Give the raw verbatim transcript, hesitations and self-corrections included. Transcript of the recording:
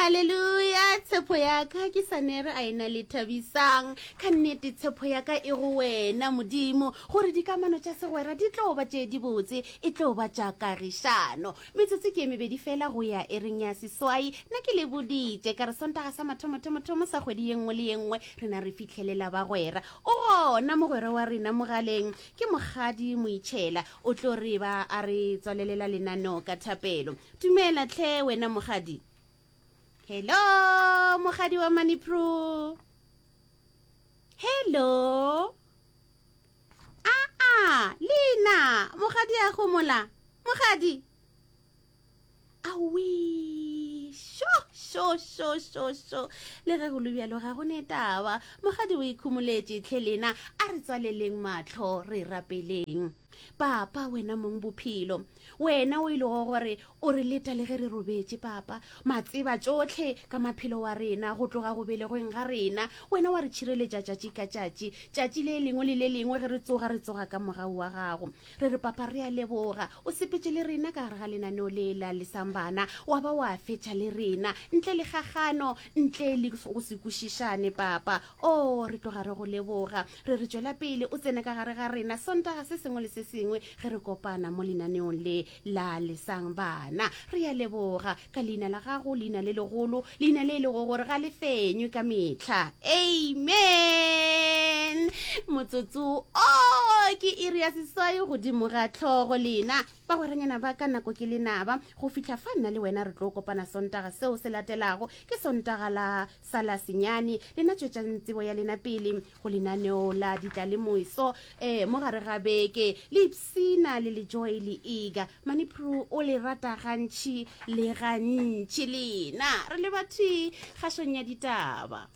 Haleluya! Tshepo ya ka ke sanere a ena le thabisang. Ka nnete tshepo ya ka e go wena, Modimo, gore dikamano tša segwera di tlo ba tše dibotse, e tlo ba tša kagišano. Metsotso ke e mebedi fela go ya ering ya seswai. Nna ke le boditše ka re Sontaga sa mathomothomo-thomo sa kgwedi ye nngwe le ye nngwe rena re fihlelela bagwera. O gona mogwera wa rena mogaleng, ke Mokgadi Moitšhela, o tlo re ba a re tswalelela lenaneo ka thapelo. Dumela hle wena Mokgadi. Hello, Mokgadi wa Manipro. Hello. Aa, lena, Mokgadi a gomola. Mokgadi. Awi, sho, sho, sho, sho, sho. Le ge go le bjalo ga go ne taba. Mokgadi o ikhumoletše tlhe lena, a re tswaleleng mahlo re rapeleng. Papa, wena mong bophelo, wena o e lego gore o re leta le ge re robetše, Papa, matseba tšohle ka maphelo wa rena go tloga go belegweng ga rena, wena wa re tšhireletša tšatši ka tšatši, tšatši le lengwe le le lengwe ge re tsoga, re tsoga ka mogau wa gago. Re re, Papa, re a leboga, o sepetše le rena ka gare ga lenaneo le la Lesang Bana, wa ba wa fetša le rena, ntle le kgakgano, ntle le go se kwešišane, Papa. Oo, re tloga re go leboga. Re re tšwela pele o tsene ka gare ga rena Sontaga se sengwe le se sengwe ge re kopana mo lenaneong le la Lesang Bana. Re a leboga ka leina la gago, leina le legolo, leina le e lego gore ga le fenywe ka mehla. Amen. Motsotso o ke iri ya seswai godimo ga hlogo lena bagweranyana ba ka nako ke lenaba go fihla fa nna le wena re tlo kopana Sontaga seo se latelago ke Sontaga la sa la senyane. Lena tšwetšang tsebo ya lena pele go lenaneo la ditlalemoiso eh, mo gare ga beke le ipsina le lejoy le ega Manipro o le rata gantši le gantši lena re le bathwi kgašong ya ditaba.